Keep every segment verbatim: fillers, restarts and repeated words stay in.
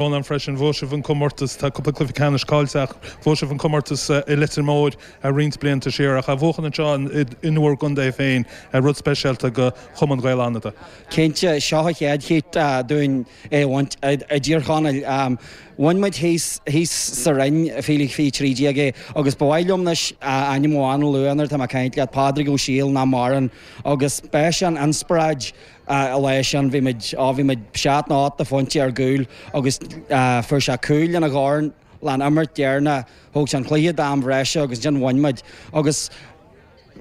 Rónán freisin bhuaigh sibh an comórtas tá cúpla cluiche ceannais caillte ach bhuaigh sibh an comórtas i Leitir Móir roinnt blianta siar ach a bhuachan anseo in bhur gcontae féin rud speisialta do Chumann Ghaeil Fhánada. Cinnte seo an chéad chéad dúinn é bhaint i dTír Chonaill. Bhain muid thíos sa Rinn fiche fiche trí déag é agus ba mhaith liom anois ainm amháin a lua nuair atá mé ag caint leat Pádraig Ó Siadhail nach maireann agus b'é an inspioráid a lá sin bhí muid á bhí muid seacht nó ocht de phointe ar gcúl agus fuair sé cúl lena dhorn leis an imirt deireanach thóg sé an cluiche d'am breise agus ansin bhain muid agus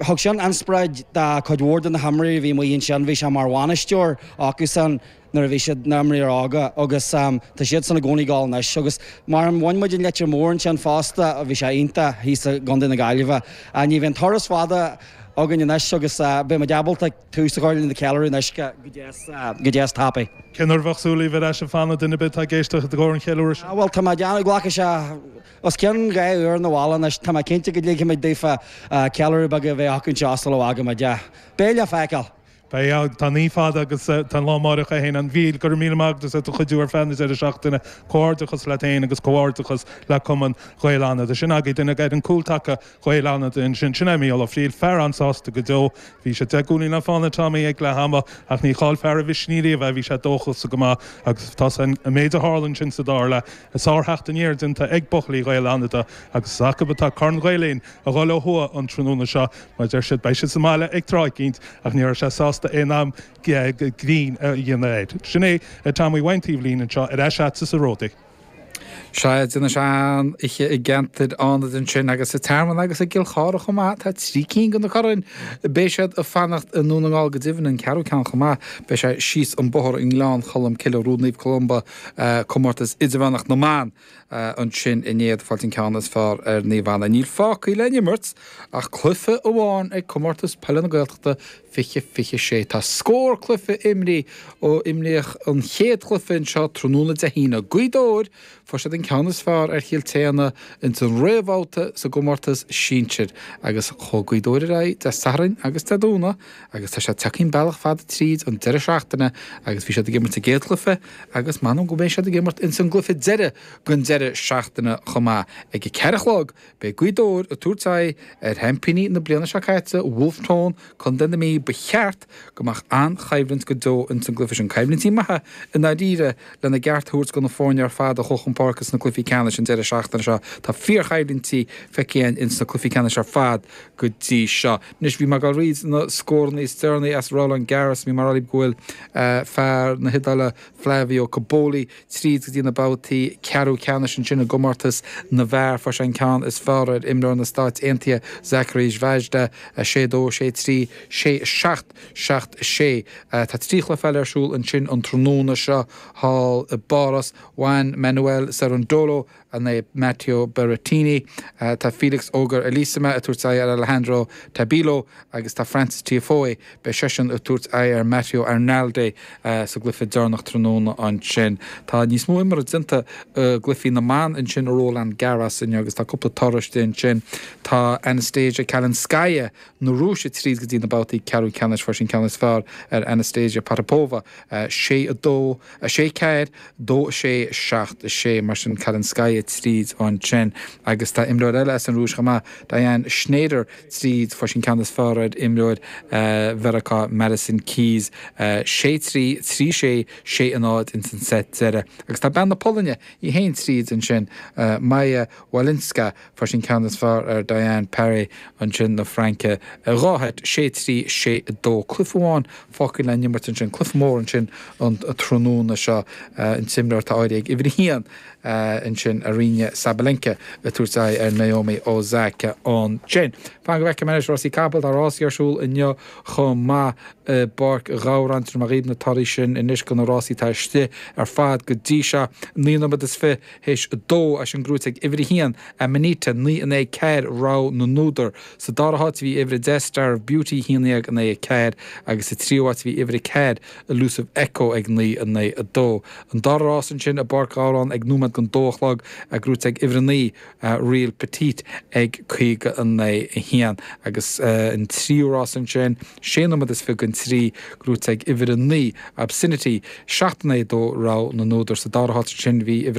thug sin inspioráid do chuid mhór de na himreoirí a bhí amuigh ansin bhí sé mar bhainisteoir acusan nuair a bhí siad na himreoirí óga agus tá siad san i gcónaí ag gabháil anois agus mar an bhain muid an Leitir Móir ansin fosta a bhí sé iontach thíos i gContae na Gaillimhe. Ní bhíonn turas fada againn anois agus beidh muid ábalta tús a chur na ceiliúradh anois go deas tapaidh. Cén uair a bheadh súil ar ais Fánada duine ar bith ag éisteacht i gcomhair an cheiliúradh? Bhuel tá mé déanamh glacadh sé os cionn dhá uair na bhile anois tá mé cinnte go dligfimid daofa ceiliúradh beag a bheith acu anseo sula bhfágfaimid. Beidh le feiceáil. Beidh tá ní fada agus tá lá amárach a haon an mhíl gur míle maith agat do chuidiú ar feadh na deireadh seachtaine comhghairdeachas leat féin agus comhghairdeachas le Cumann Ghaeil Fhánada. Sin agaibh duine ar an gcúltaca Ghaeil Fhánada ansin sin é Mícheál Ó Frighil fear an-sásta go deo. Bhí sé deich gcúilín le fána Tommy ag leath ama ach ní chaillfear a mhisneach riamh bhí sé dóchasach go maith agus tá an méid a tharla ansin sa dara leath sártheacht aniar déanta ag buachaillí Ghaeil Fhánada agus acu atá Corn Ghael Linn a dhul ó thuaidh an tráthnóna seo mar deir siad beidh siad sa mbaile ag tráth éicint ach ní raibh sé sásta aon am grinn a dhéanamh air. Sin é Tommy Wayne taobhlín anseo ar ais sa Ródaí. Se duna se an ihe i gceantar Fhánada ansin agus sa Tearmann agus i gCill Chartha chomh maith tá trí cinn de na coirn beidh siad ag fanacht i nDún na nGall go deimhin an ceathrú ceann chomh maith beidh sé síos an bóthar i nGleann Cholm Cille Rúd Naomh Columba comórtas idirmheánach na mban ansin inné fáilt an ceann is fearr ar Naomh Anna. Níl fágtha le n-imirt ach cluiche amháin ag comórtas peile na Gaeltachta fiche fiche sé. Tá scór cluiche imrithe ó imríodh an chéad chluiche anseo tráthnóna Dé hAoine. Gaoth Dobhair fuair siad an ceann is fearr ar Chill Téana ins an réamhbhabhta sa gcomórtas sinsir agus chuaigh Gaoth Dobhair ar aghaidh Dé Sathairn agus Dé Domhnaigh agus tá sé tagtha bealach fada tríd an deireadh seachtaine agus bhí siad ag imirt a gcéad chluiche agus m'anam go mbeidh siad ag imirt ins an gcluiche deiridh den deireadh seachtaine chomh maith ag a ceathair a chlog beidh Gaoth Dobhair ag tabhairt aghaidh ar sheaimpíní na bliana seo caite Wolfe Tone Contae na Mí ba cheart go mbeadh an-choimhlint go deo ins an gcluiche sin coimhlintí maithe i ndáiríre lena gceart thabhairt do na foirne ar fad a chuaigh chun páirce sna cluichí ceannais an deireadh seachtaine seo Tá fíorchoimhlintí feicthe ins na cluichí ceannais ar fad go dtí seo. Anois bhí mé ag rá na scóranna is deireanaí as Roland Garros bhí mar go bhfuil uh, fear na hIodáile Flavio Cobolli tríd go dtí na babhtaí ceathrú ceannais ansin i gcomórtas na bhfear fuair sé an ceann is fearr ar imreoir na Stáit Aontaithe Zachary Svajda sé dó sé trí sé seacht seacht sé. Tá trí chluiche eile ar siúl ansin an tráthnóna seo thall i bPáras Juan Manuel Cerundolo in aghaidh Matteo Berrettini, uh, tá Felix Auger-Aliassime ag tabhairt aghaidh ar Alejandro Tabilo agus tá Frances Tiafoe beidh seisean ag tabhairt aghaidh ar Matteo Arnaldi uh, sa gcluiche deireanach tráthnóna ansin. Tá níos mó imeartha déanta uh, gcluichí na mban ansin i Roland Garros inniu agus tá cúpla toradh ansin tá Anastasia Kalinskaya na Rúise tríd go dtí na babhtaí ceathrú ceannais fuair sí an ceann is fearr ar Anastasia Potapova uh, sé a dó a sé ceathair dó sé seacht sé mar sin Kalinskaya tríd ansin agus tá imreoir eile as an Rúis chomh maith Diane Shnaider tríd fuair sí an ceann is fearr ar imreoir uh, Mheiriceá Madison Keys uh, sé trí trí sé sé a náid in san set deiridh. agus tá bean na Polainne í féin tríd ansin uh, Maja Walinska fuair sí an ceann is fearr ar Diane Parry ansin na Fraince dhá sheit sé trí sé dó cluiche amháin fágtha le n-imirt ansin cluiche mór ansin an tráthnóna seo an t-imreoir atá áirithe ag uimhir a haon ansin Aryna Sabalenka ag tabhairt aghaidh ar Naomi Osaka ansin. Fan go bhfeice mé rásaí capall tá rásaí ar siúl inniu chomh maith i bPáirc Ghabhráin mar ghaib na torthaí sin anois go na rásaí tá istigh ar fad go dtí seo naoi nóiméad is fiche théis a dó as an gcrúit ag uimhir a haon Amanita naoi in aghaidh ceathair rogha na n-údar. Sa dara háit bhí uimhir a deich Star of Beauty haon déag in aghaidh ceathair agus sa tríú háit bhí uimhir a ceathair Elusive Echo ag naoi in aghaidh a dó. An dara rás ansin i bPáirc Ghabhráin ag nóiméad don dó a chlog gnóite ag uimhir a naoi Real Petite ag caoga a naoi a haon agus an tríú rás ansin sé nóiméad is fiche don trí gnóite ag uimhir a naoi Obscenity seacht a naoi dó rogha na n-údar sa dara háit ansin bhí uimhir